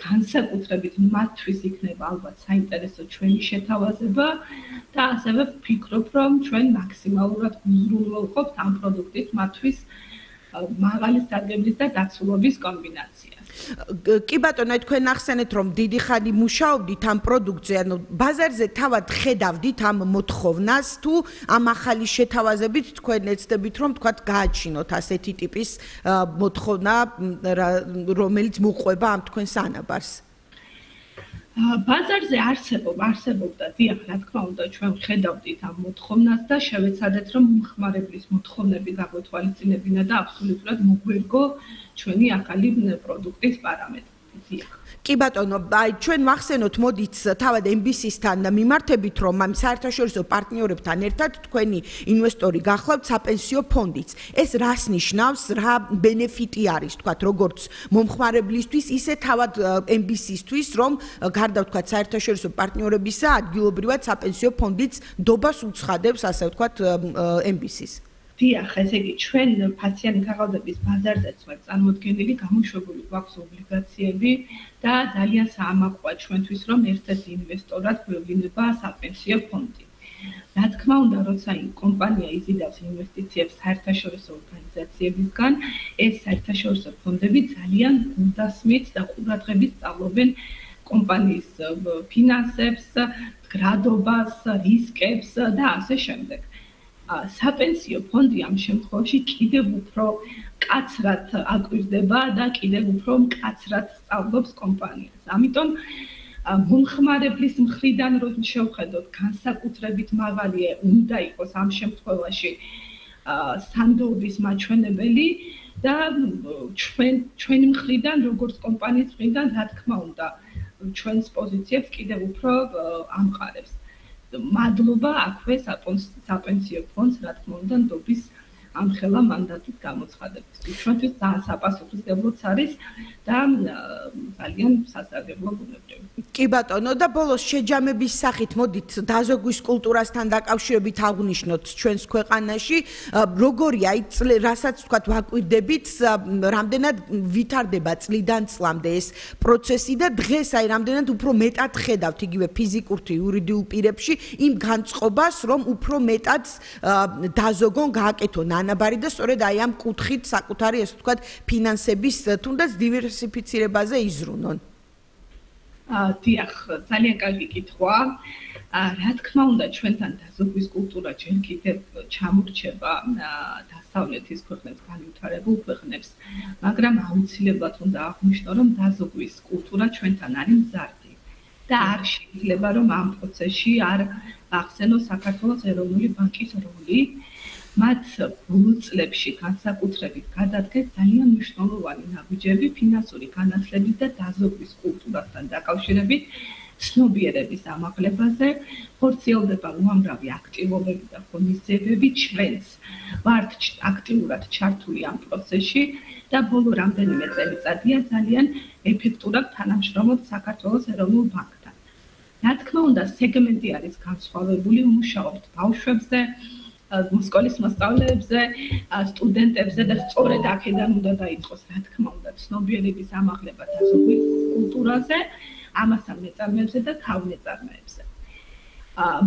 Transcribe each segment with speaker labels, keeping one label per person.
Speaker 1: განსაკუთრებით მათთვის იქნება ალბათ საინტერესო ჩვენი შეთავაზება და ასევე ვფიქრობ, რომ ჩვენ მაქსიმალურად უზრუნველყოფთ ამ პროდუქტით მათთვის მაღალი სარგებლის და დაცულობის კომბინაციას.
Speaker 2: კი ბატონო, თქვენ ახსენეთ, რომ დიდი ხანი მუშაობდით ამ პროდუქტზე, ანუ ბაზარზე თავად ხედავდით ამ მოთხოვნას თუ ამ ახალი შეთავაზებით თქვენ ეცდებით, რომ თქვათ გააჩინოთ ასეთი ტიპის მოთხოვნა, რომელიც მოყვება ამ თქვენს ანაბარს?
Speaker 1: ბაზარზე არსებობდა, დიახ, რა თქმა უნდა, ჩვენ ხედავდით ამ მოთხოვნას და შევეცადეთ, რომ მომხმარებლის მოთხოვნები გაგვეთვალისწინებინა და აბსოლუტურად მოგვერგო ჩვენი ახალი პროდუქტის პარამეტრები. დიახ.
Speaker 2: კი ბატონო, ჩვენ ვახსენოთ, მოდით თავად MBC-სთან მიმართებით, რომ ამ საერთაშორისო პარტნიორებთან ერთად თქვენი ინვესტორი გახლავთ საპენსიო ფონდიც. ეს რას ნიშნავს, რა ბენეფიტი არის, თქვათ, როგორც მომხმარებლისთვის, ისე თავად MBC-სთვის, რომ გარდა თქვათ საერთაშორისო პარტნიორებისა, ადგილობრივად საპენსიო ფონდიც დობას უცხადებს, ასე ვთქვათ, MBC-ს.
Speaker 1: დიახ, ესე იგი, ჩვენ ფასიანი ქაღალდების ბაზარზეც ვართ წარმოდგენილი, გამოშვებული გვაქვს ობლიგაციები და ძალიან საამაყოა ჩვენთვის, რომ ერთ-ერთი ინვესტორად გვევლინება საპენსიო ფონდი. რა თქმა უნდა, როცა კომპანია იზიდავს ინვესტიციებს საერთაშორისო ორგანიზაციებისგან, ეს საერთაშორისო ფონდები ძალიან გულდასმით და ყურადღებით სწავლობენ კომპანიის ფინანსებს, გრადობას, რისკებს და ასე შემდეგ. საპენსიო ფონდი ამ შემთხვევაში კიდევ უფრო მკაცრად აკვირდება და კიდევ უფრო მკაცრად სწავლობს კომპანიას. ამიტომ მომხმარებლის მხრიდან რომ შევხედოთ, განსაკუთრებით მაღალია უნდა იყოს ამ შემთხვევაში სანდოების მაჩვენებელი და ჩვენი მხრიდან, როგორც კომპანიის მხრიდან, რა თქმა უნდა, ჩვენს პოზიციებს კიდევ უფრო ამყარებს. მადლობა აქვე საპენსიო ფონდს, რა თქმა უნდა, ნდობის ამხელა მანდატით გამოცხადებისთვის. ჩვენთვის საპასუხისმგებლოც არის და ძალიან სასარგებლო ბუნებრივი.
Speaker 2: კი ბატონო, და ბოლოს შეჯამების სახით მოდით დაზოგვის კულტურასთან დაკავშირებით აღვნიშნოთ ჩვენს ქვეყანაში, როგორია ის რასაც თქვათ ვაკვირდებით, რამდენად ვითარდება წლიდან წლამდე ეს პროცესი და დღეს აი რამდენად უფრო მეტად ხედავთ იგივე ფიზიკურ თუ იურიდიულ პირებში იმ განწყობას, რომ უფრო მეტად დაზოგონ, გააკეთონ ანაბარი და სწორედ აი ამ კუთხით საკუთარი ესე ვთქვათ ფინანსების თუნდაც დივერსიფიცირებაზე იზრუნონ.
Speaker 1: დიახ, ძალიან კარგი კითხვა. რა თქმა უნდა, ჩვენთან დაზოგვის კულტურა ჯერ კიდევ ჩამორჩება დასავლეთის ქვეყნებს, განვითარებულ ქვეყნებს, მაგრამ აუცილებლად უნდა აღვნიშნო, რომ დაზოგვის კულტურა ჩვენთან არის მზარდი და არ შეიძლება, რომ ამ პროცესში არ ახსენოს საქართველოს ეროვნული ბანკის როლი. მათ ბოლო წლებში განსაკუთრებით გადადგეს ძალიან მნიშვნელოვანი ნაბიჯები ფინანსური განათლების და დაზოგვის კულტურასთან დაკავშირებით ცნობიერების ამაღლებაზე, ხორციელდება უამრავი აქტივობები და ღონისძიებები, ჩვენც ვართ აქტიურად ჩართული ამ პროცესში და ბოლო რამდენიმე წელიწადია ძალიან ეფექტურად თანამშრომლობთ საქართველოს ეროვნულ ბანკთან. რა თქმა უნდა, სეგმენტი არის განსხვავებული, ვმუშაობთ ბავშვებზე, სკოლის მოსწავლეებზე, სტუდენტებზე და სწორედ აქედან უნდა დაიწყოს, რა თქმა უნდა, ცნობიერების ამაღლება დაზოგვის კულტურაზე, ამასთან მეწარმეებზე და თავნეწარმეებზე.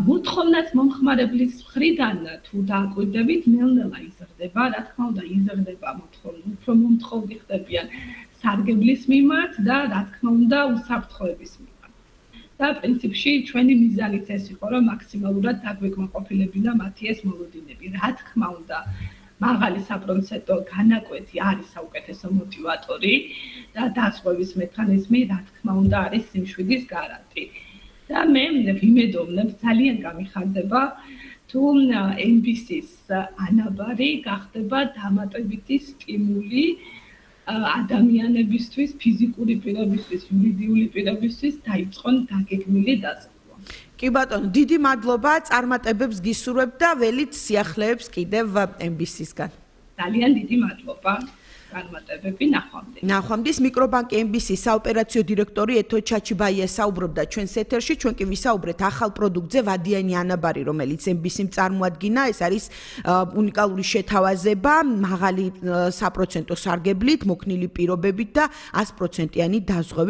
Speaker 1: მოთხოვნას მომხმარებლის მხრიდან თუ დააკვირდებით, ნელ-ნელა იზრდება, რა თქმა უნდა, იზრდება მოთხოვნა, უფრო მომთხოვნი ხდებიან სარგებლის მიმართ და რა თქმა უნდა, უსაფრთხოების მიმართ. და პრინციპში ჩვენი მიზანიც ეს იყო, რომ მაქსიმალურად დაგვეკმაყოფილებინა მათი ეს მოლოდინები. რა თქმა უნდა, მაღალი საპროცენტო განაკვეთი არის საუკეთესო მოტივატორი და დასვევის მექანიზმი, რა თქმა უნდა, არის სიმშვიდის გარანტი. და მე ვიმედოვნებ, ძალიან გამიხარდება, თუ MBC-ს ანაბარი გახდება დამატებითი სტიმული ადამიანებისთვის, ფიზიკური პირებისთვის, იურიდიული პირებისთვის დაიწყონ დაგეგმილი დაზოგვა.
Speaker 2: კი ბატონო, დიდი მადლობა, წარმატებებს გისურვებთ და ველით სიახლეებს კიდევ MBC-სგან.
Speaker 1: ძალიან დიდი მადლობა. განმარტებები
Speaker 2: ნახვამდის მიკრობანკი MBC-ის საოპერაციო დირექტორი ეთო ჩაჩიბაია საუბრობდა ჩვენს ეთერში. ჩვენ კი ვისაუბრეთ ახალ პროდუქტზე ვადიანი ანაბარი, რომელიც MBC-მ წარმოადგინა. ეს არის უნიკალური შეთავაზება, მაღალი საპროცენტო სარგებლით, მოქნილი პირობებით და 100%-იანი დაზღვევით.